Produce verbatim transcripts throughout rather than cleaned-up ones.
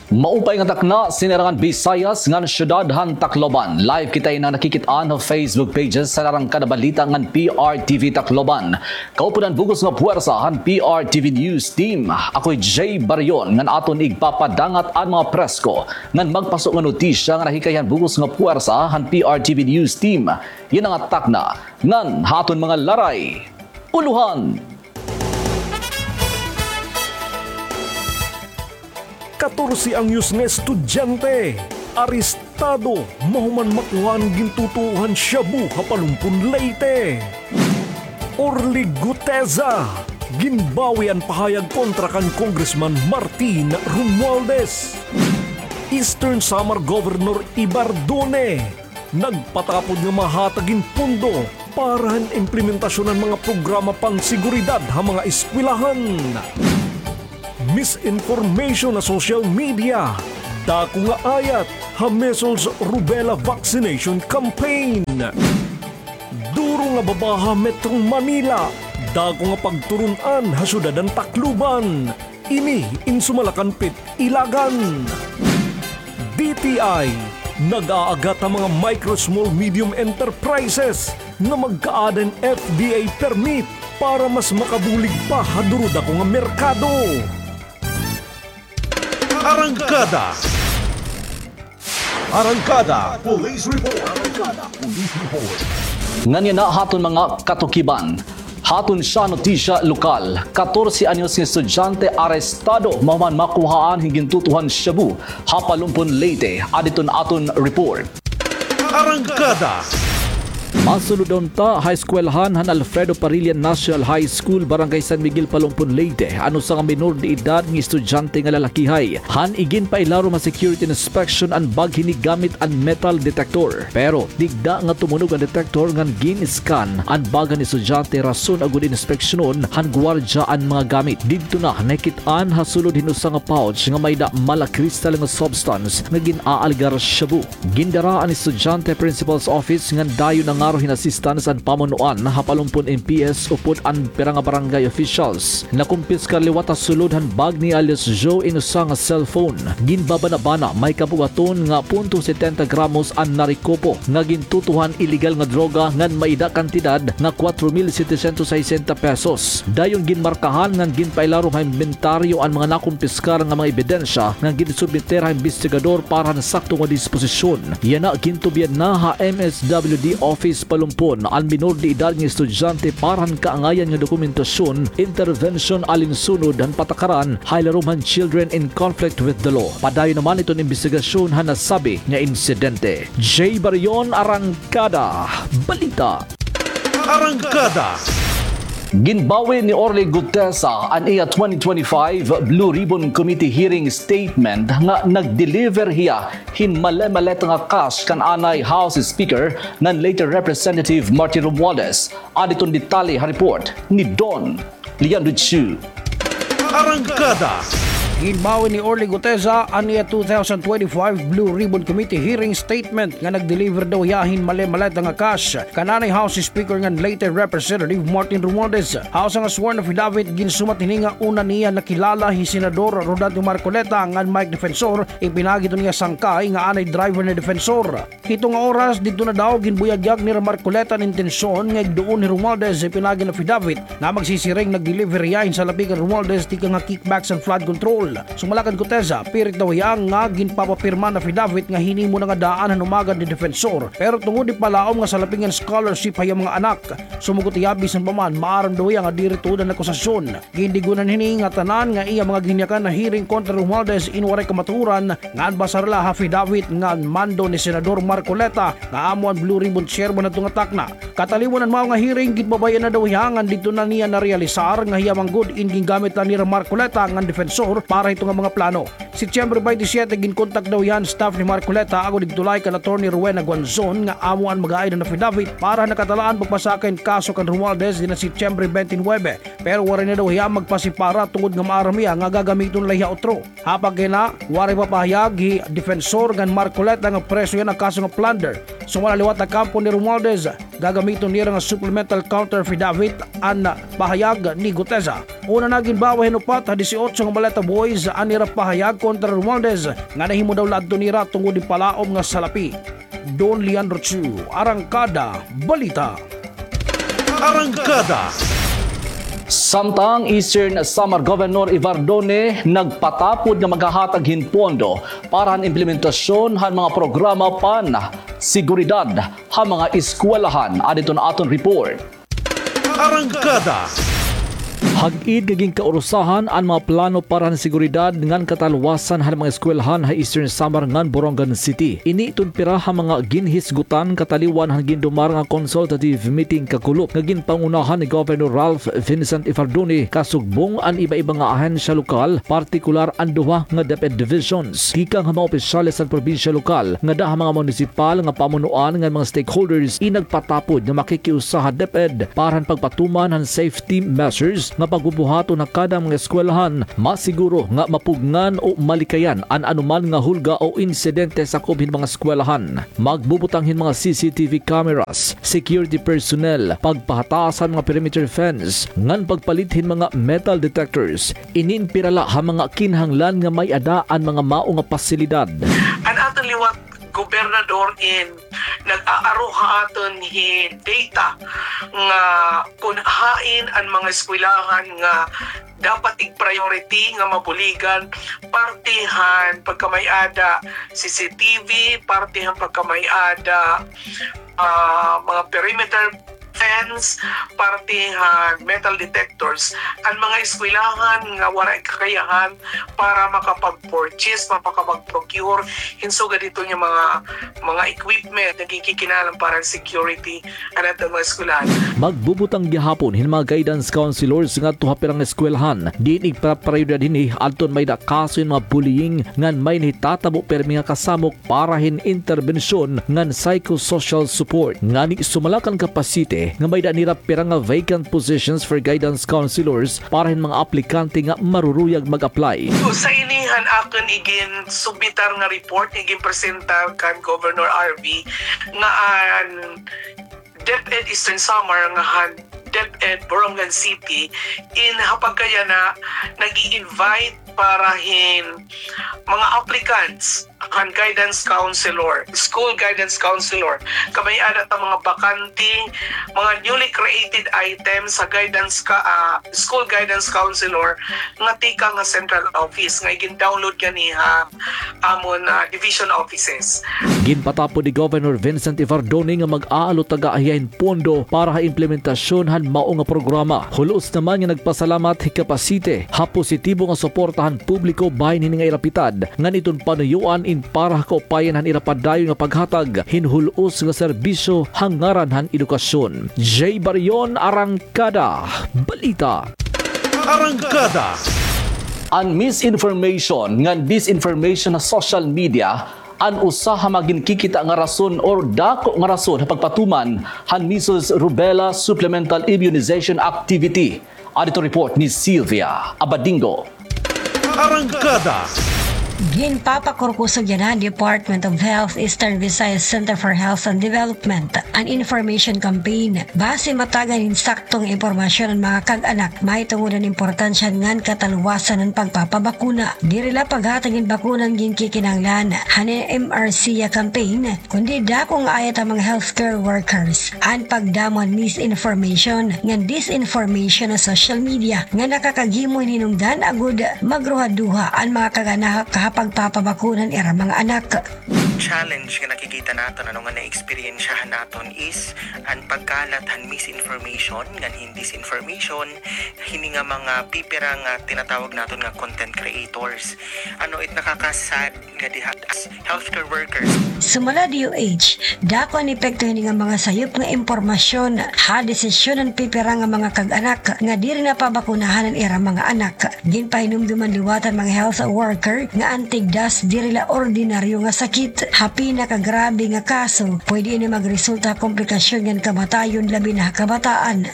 Maupay nga takna, sinarangan Bisayas ngan syudad han Tacloban. Live kita ini nakikit-an ha Facebook pages han Arangkada Balita ngan P R T V Tacloban. Kaupod han bug-os nga puwersa han P R T V News Team. Ako hi Jay Barion ngan aton igpapadangat an mga presko ngan magpaso nga notisya nga nahikay han bug-os nga puwersa han P R T V News Team. Yana nga takna ngan ha aton mga laray. Ulohan. Katorse anyos nga estudyante arestado mahuman makuha an gintutuohan shabu ha Palompon, Leyte. Orly Guteza, ginbawi an pahayag kontra kan Congressman Martin Romualdez. Eastern Samar Governor Ibar Dune, nagpatapod nga mahatag hin pondo para han implementasyon han mga programa panseguridad ha mga eskwelahan. Misinformation ha social media, dako nga ayat ha measles rubella vaccination campaign. Duro nga baba ha Metro Manila, dako nga pagturun-an ha syudad han Tacloban. Ini in sumala kan Pit Ilagan. D T I, nag-aagat ha mga micro, small, medium enterprises nga magkaada hin F D A permit para mas makabulig pa ha duro-dako nga merkado. Arangkada. Arangkada Police Report. Arangkada Police Report. Ngan yana ha aton mga katukiban. Ha aton siyam notisya lokal, katorse anyos nga estudyante arestado mahuman makuhaan hin gintutuhan shabu ha Palompon, Leyte. Adi iton aton report. Arangkada. Masulod unta ha eskwelahan han Alfredo Parilla National High School, Barangay San Miguel, Palompon, Leyte, an usa nga minor de edad nga estudyante nga lalakihay, han iginpailarom ha security inspection an bag hini gamit an metal detector. Pero digda nga tumunog an detector ngan gin-scan an bag han estudyante, rason agod inspeksyonon han guwardya an mga gamit. Didto na nakit-an ha sulod hin usa nga pouch nga may-ada mala crystal nga substance nga gin-aalgar shabu. Gindara an estudyante ha principal's office ngan dayon nangaro hin assistance an pamunuan ha Palompon M P S upod an pira nga barangay officials. Nakumpiskar liwat ha sulod han bag ni alias Joe in usa nga cellphone. Ginbabanabana may kabugaton nga punto setenta gramos an narekupo nga gintutuhan ilegal nga droga ngan may-ada kantidad nga kuwatro mil setecientos sesenta pesos. Dayon ginmarkahan ngan ginpailarom ha imbentaryo an mga nakumpiskar nga mga ebidensya ngan ginsubmeter ha imbestigador para han sakto nga disposisyon. Yana gintubyan na ha M S W D Office Palompon an minor de edad nga estudyante para han kaangayan nga dokumentasyon, intervention alinsunod han patakaran ha ilarom han Children in Conflict with the Law. Padayon naman iton imbestigasyon han nasabi nga insidente. Jay Barion, Arangkada Balita. Arangkada. Ginbawi ni Orly Guteza an iya twenty twenty-five Blue Ribbon Committee hearing statement nga nag-deliver hiya hin male-maleta nga cash kan anay House Speaker ngan late Representative Martin Romualdez. Adi iton detalye ha report ni Don Leandro Chu. Arangkada. Ginbawi ni Orly Guteza an iya two thousand twenty-five Blue Ribbon Committee hearing statement nga nag-deliver daw hiya hin male-maleta nga cash kan anay House Speaker ngan late Representative Martin Romualdez. Ha usa nga sworn affidavit, ginsumat hini nga una niya nakilala hi Senador Rodante Marcoleta ngan Mike Defensor, ipinaagi hiton iya sangkay nga anay driver ni Defensor. Hito nga oras, didto na daw ginbuyagyag nira Marcoleta an intensyon nga igduon hi Romualdez, ipinaagi han affidavit nga magsisiring nag-deliver hiya hin salapi kan Romualdez tikang ha kickbacks and flood control. Sumala kan Guteza, pirit daw hiya nga ginpapapirma an affidavit nga hinimo na nga daan han umagad ni Defensor, pero tungod hin palaom nga salapi ngan scholarship ha iya mga anak, sumugot hiya bisan pa man maaram daw hiya nga diri tuod an akusasyon. Gindigonan hini nga tanan nga iya mga ginyakan ha hearing kontra Romualdez in waray kamatuoran ngan basar la ha affidavit ngan mando ni Senador Marcoleta nga amo an Blue Ribbon Chairman hadto nga takna. Kataliwan han mao nga hearing, ginpabay-an na daw hiya ngan didto na niya narealisar nga hiya man gud in gingamit la nira Marcoleta ngan Defensor para hito nga mga plano. Setyembre twenty-seven, ginkontak daw hiya han staff ni Marcoleta agod igtulay kan Attorney Rowena Guanzon nga amo an mag-aay hin affidavit para ha nakatalaan pagpasaka hin kaso kan Romualdez dinhi ha Setyembre twenty-nine. Pero waray na daw hiya magpasipara tungod nga maaram hiya nga gagamiton la hiya utro. Ha pagkaina, waray papahayag hi Defensor ngan Marcoleta nga preso hiya ha kaso nga plunder. Sumala liwat ha kampo ni Romualdez, gagamiton nira nga supplemental counter affidavit an pahayag ni Guteza. Una na ginbawi hin upat ha disiotso nga maleta boys an ira pahayag Contra Romualdez nga nahimo daw la adto nira tungod hin palaom nga salapi. Don Leandro Chu, Arangkada Balita. Arangkada. Samtang Eastern Samar Governor Evardone nagpatapod nga maghahatag hin pondo para han implementasyon han mga programa pan-seguridad ha mga eskwelahan. Adto an aton report. Arangkada. Hag-id nga ginkaurusahan an mga plano para han seguridad ngan katalwasan han mga eskwelahan ha Eastern Samar ngan Borongan City. Ini iton pira ha mga ginhisgutan kataliwan han gindumara nga consultative meeting kakulop nga ginpangunahan ni Governor Ralph Vincent Evardone, kasugbong an iba-iba nga ahensya lokal, partikular an duha nga DepEd divisions. Tikang ha mga opisyales han probinsya lokal, ngada ha mga munisipal nga pamunuan ngan mga stakeholders, inagpatapod nga makikiusa ha DepEd para han pagpatuman han safety measures nga pagbubuhaton ha kada mga eskwelahan, masiguro nga mapugngan o malikayan an anoman nga hulga o insidente sakob hin mga eskwelahan. Magbubutang hin mga C C T V cameras, security personnel, pagpahataas han mga perimeter fence, ngan pagpalit hin mga metal detectors. Ini in pira la ha mga kinahanglan nga may-ada an mga mao nga pasilidad. An aton liwat gobernador in nag-aaro ha aton hin data nga kun hain an mga eskwelahan nga dapat ig-priority nga mabuligan, parte han pagkamay-ada C C T V, parte han pagkamay-ada, ah, mga perimeter fence, parte han metal detectors, an mga eskwelahan nga waray kakayahan para makapag-purchase, makapag-procure hin sugad hito nga mga, mga equipment nga ginkikinahanglan para han security han aton mga eskwelahan. Magbubutang gihapon hin mga guidance counselors ngadto ha pira nga eskwelahan diin igpaprioridad hini adton may-ada kaso hin mga bullying ngan may nahitatabo pirmi nga kasamok para hin interbensyon ngan psychosocial support. Ngani sumala kan Capacite nga may-ada nira pira nga vacant positions for guidance counselors para hin mga aplikante nga maruruyag mag-apply. So, sa ini han akon iginsubmitar nga report, iginpresentar kan Governor R V nga an DepEd Eastern Samar nga han DepEd Borongan City in ha pagkayana nag-i-invite para hin mga applicants han guidance counselor, school guidance counselor. Kamay-ada ta mga bakante, mga newly created items sa guidance ka, ah, school guidance counselor nga tikang ha central office nga igin-download gani ha amon, ah, division offices. Ginpatapod ni Governor Vincent Evardone nga mag-aalutaga hiya hin pondo para ha implementasyon han mao nga programa. Hulos naman nga nagpasalamat hi Capacite ha positibo nga suporta han publiko bahin hini nga ira pitad, ngan iton panuyoan in para ha kaupayan han ira padayon nga paghatag hin hul-os nga serbisyo ha ngaran han edukasyon. Jay Barion, Arangkada Balita. Arangkada. An misinformation ngan disinformation ha social media an usa ha mga ginkikita nga rason or dako nga rason ha pagpatuman han measles rubella supplemental immunization activity. Adto report ni Sylvia Abadingo. Arangkada. Ginpapakurkusog yana han Department of Health, Eastern Visayas Center for Health and Development, an information campaign basi matagan hin sakto nga impormasyon an mga kag-anak mahitungod han importansya ngan katalwasan han pagpapabakuna. Diri la paghatag hin bakuna an ginkikinahanglan han M R C A campaign, kundi dako nga ayat han mga healthcare workers an pagdamo han misinformation ngan disinformation ha social media nga nakakaghimo hin hinungdan agod magruhaduha an mga kag-anak ha pagpapabakuna han ira mga anak. Challenge nga nakikita naton, ano, nga naeksperyensyahan naton is an pagkalat han misinformation ngan hin disinformation hini nga mga pipira nga tinatawag naton nga content creators. Ano, it nakaka-sad nga diha as healthcare workers. Sumala D O H, dako an epekto hini nga mga sayop nga impormasyon ha desisyon han pipira nga mga kag-anak nga diri na pabakunahan an ira mga anak. Ginpahinumdom han liwat han mga health worker nga an tigdas diri la ordinaryo nga sakit. Ha pinakagrabe nga kaso, pwede ini magresulta ha komplikasyon ngan kamatayon, labi na ha kabataan.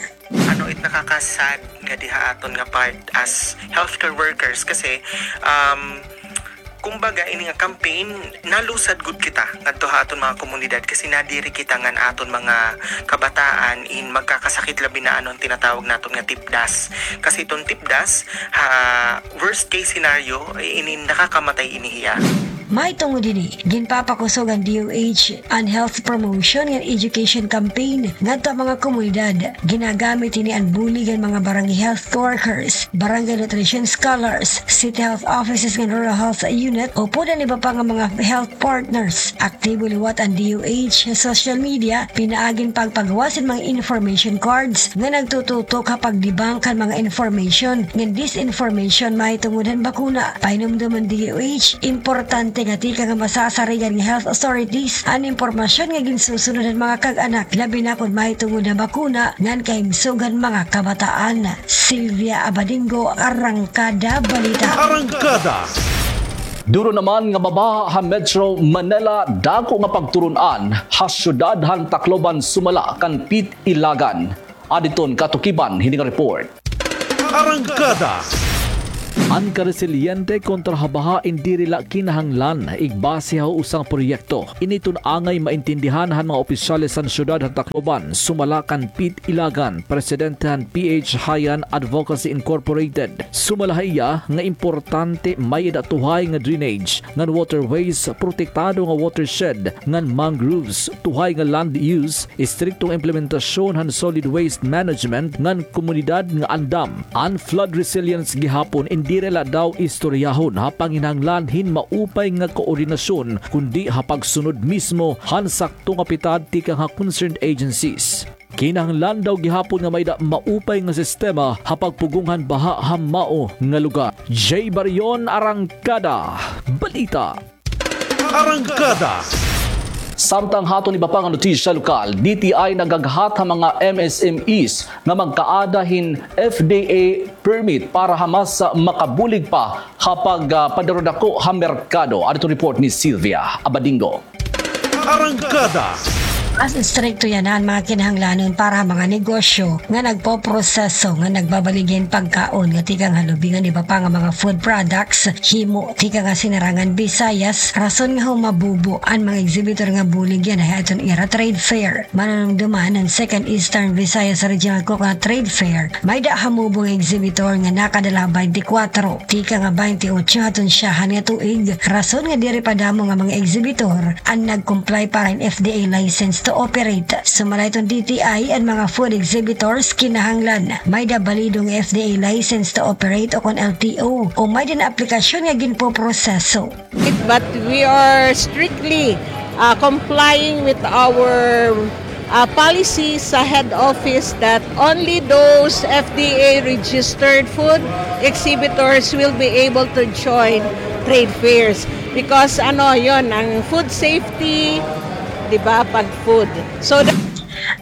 Ano, it nakaka-sad nga diha aton nga part as healthcare workers kasi, um, Kumbaga, ini nga campaign, nalusad gud kita ngadto ha aton mga komunidad kasi nadiri kita ngan aton mga kabataan in magkakasakit, labi na ano an tinatawag naton nga tipdas. Kasi iton tipdas, ha worst case scenario, ini nakakamatay ini hiya. Mahitungod hini, ginpapakusog an D O H an health promotion ngan education campaign ngadto ha mga komunidad. Ginagamit hini an bulig han mga barangay health workers, barangay nutrition scholars, city health offices ngan rural health unit, upod an iba pa nga mga health partners. Aktibo liwat an D O H ha social media, pinaagi hin pagpagawas hin mga information cards nga nagtututok ha pagdebunk han mga information ngan disinformation mahitungod han bakuna. Pahinumdom han D O H, importante nga tikang ha masasarigan nga health authorities an impormasyon nga ginsusunod han mga kag-anak, labi na kon mahitungod ha bakuna ngan kahimsog han mga kabataan. Sylvia Abadingo, Arangkada Balita. Arangkada. Duro naman nga mabaha ha Metro Manila, dako nga pagturun-an ha syudad han Tacloban sumala kan Pit Ilagan. Aditon katukiban hini nga report. Arangkada. An karesiliente kontra ha baha in diri la kinahanglan igbase ha usa nga proyekto. Ini iton angay maintindihan han mga opisyales han syudad han Tacloban, sumala kan Pit Ilagan, presidente han P H Hayan Advocacy Incorporated. Sumala ha iya nga importante may-ada tuhay nga drainage ngan waterways, protektado nga watershed ngan mangroves, tuhay nga land use, istriktong implementasyon han solid waste management ngan komunidad nga andam. An flood resilience gihapon in diri la daw istoryahon ha panginahanglan hin maupay nga koordinasyon, kundi ha pagsunod mismo han sakto nga pitad tikang ha concerned agencies. Kinahanglan daw gihapon nga may-ada maupay nga sistema ha pagpugong han baha ha mao nga lugar. Jay Barion, Arangkada Balita. Arangkada. Samtang ha aton iba pa nga notisya lokal, D T I nagaghat ha mga M S M Es nga magkaada hin F D A permit para ha mas, ah, makabulig pa ha pag, ah, padarudako ha merkado. Adto report ni Sylvia Abadingo. Arangkada. Mas istrikto yana an mga kinahanglanon para ha mga negosyo nga nagpoproseso ngan nagbabaligya hin pagkaon nga tikang ha lubi ngan iba pa nga mga food products, himo tikang ha Sinirangan Visayas, rason nga humabubo an mga exhibitor nga bulig yana ha aton ira trade fair. Manunumdoman, an Second Eastern Visayas Regional Coconut Trade Fair, may-ada hamubo nga exhibitor nga nakadala ha baynte kwatro tikang ha baynte otso ha aton syahan nga tuig, rason nga diri pa damo nga mga exhibitor an nag-comply para hin F D A license to operate. Sumala hiton D T I, an mga food exhibitors kinahanglan may-ada balido nga F D A license to operate o kon L T O, o may-ada na aplikasyon nga ginpoproseso. But we are strictly, uh, complying with our, uh, policy sa head office that only those F D A registered food exhibitors will be able to join trade fairs. Because ano, yon, an food safety, di ba, pag food. So, the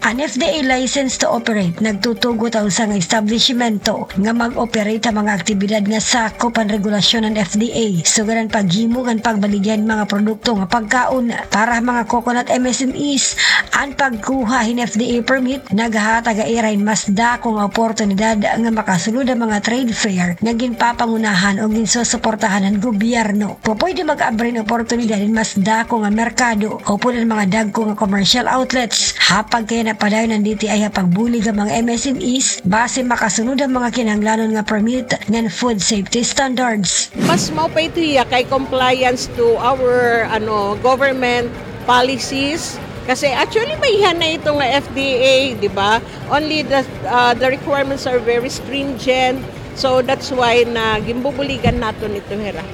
An F D A license to operate nagtutugot ha usa nga establisimento nga mag-operate ha mga aktibidad nga sakop han regulasyon han F D A, sugad han paghimo ngan pagbaligya hin mga produkto nga pagkaon. Para ha mga coconut M S M Es, an pagkuha hin F D A permit nagahatag ha ira hin mas dako nga oportunidad nga makasulod ha mga trade fair nga ginpapangunahan o ginsusuportahan han gobyerno. Pupwede mag-abri hin oportunidad hin mas dako nga merkado upod an mga dagko nga commercial outlets ha pagkahinapadayon han D T I ha pagbulig ha mga M S M Es basi makasunod ha mga kinahanglanon nga permit ngan food safety standards. Mas maupay ito hiya kay compliance to our, ano, government policies. Kasi actually, may-ada na ito nga F D A, di ba? Only the, uh, the requirements are very stringent. So that's why na ginbubuligan naton ito hira.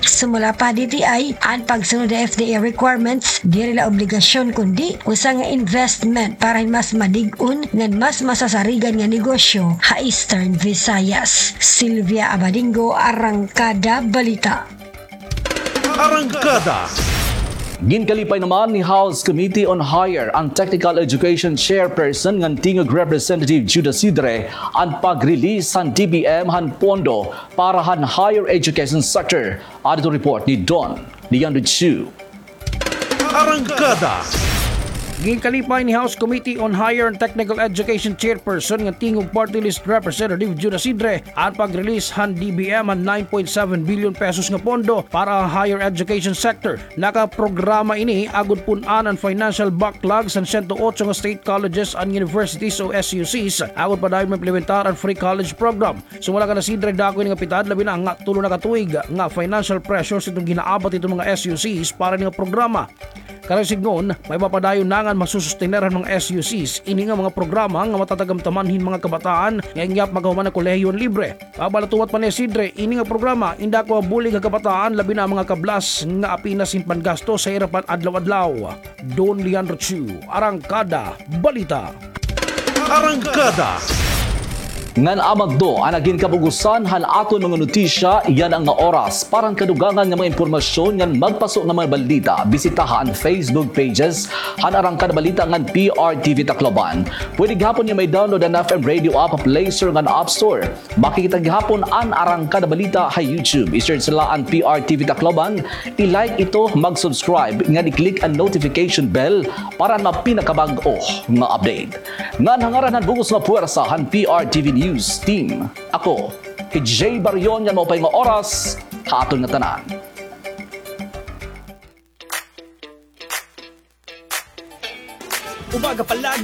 Sumala pa ha D T I, an pagsunod ha F D A requirements diri la obligasyon kundi usa nga investment para hin mas madig-on ngan mas masasarigan nga negosyo ha Eastern Visayas. Sylvia Abadingo, Arangkada Balita. Arangkada. Ginkalipay naman ni House Committee on Higher and Technical Education Chairperson ngan Tingog Representative Judah Sidre an pag-release han D B M han pondo para han higher education sector. Adto report ni Don Leandro Chu. Arangkada. Ginkalipay ni House Committee on Higher and Technical Education Chairperson nga Tingog Party List Representative Jun Asidre an pag-release han D B M han nine point seven billion pesos nga pondo para ha higher education sector. Nakaprograma ini agod pun-an an financial backlog san siyento otso nga state colleges and universities o S U Cs agod padayon maimplementar an free college program. Sumala kan Asidre, dako ini nga pitad, labi na nga tulo na ka tuig nga financial pressures iton ginaabat iton mga S U Cs para ini nga programa. Karuyag sidngon, may mapadayon na ngan masusustener han mga S U Cs ini nga mga programa nga matatagamtaman hin mga kabataan nga inggap magkahuman han kolehiyo nga libre. Pagbalatuwat pa ni Asidre, ini nga programa inda ko mabulig ha kabataan, labi na an mga kablas nga apenas hin panggastos ha ira pan-adlaw-adlaw. Don Leandro Chu, Arangkada Balita. Arangkada. Ngan amo adto an nagin kabug-osan han aton mga notisya yana nga oras. Para han kadugangan nga mga impormasyon ngan magpaso nga mga balita, bisitaha an Facebook pages han Arangkada Balita ngan P R T V Tacloban. Pwede gihapon nga mai-download an F M Radio app ha Play Store ngan App Store. Makikita gihapon an Arangkada Balita ha YouTube. I-search la an P R T V Tacloban, i-like ito, mag-subscribe, ngan i-click an notification bell para han mga pinakabag-o nga update. Ngan ha ngaran han bug-os nga puwersa han P R T V News Team, ako hi Jay Barion, ngan maupay nga oras ha aton ngatanan. Umaga pa lang.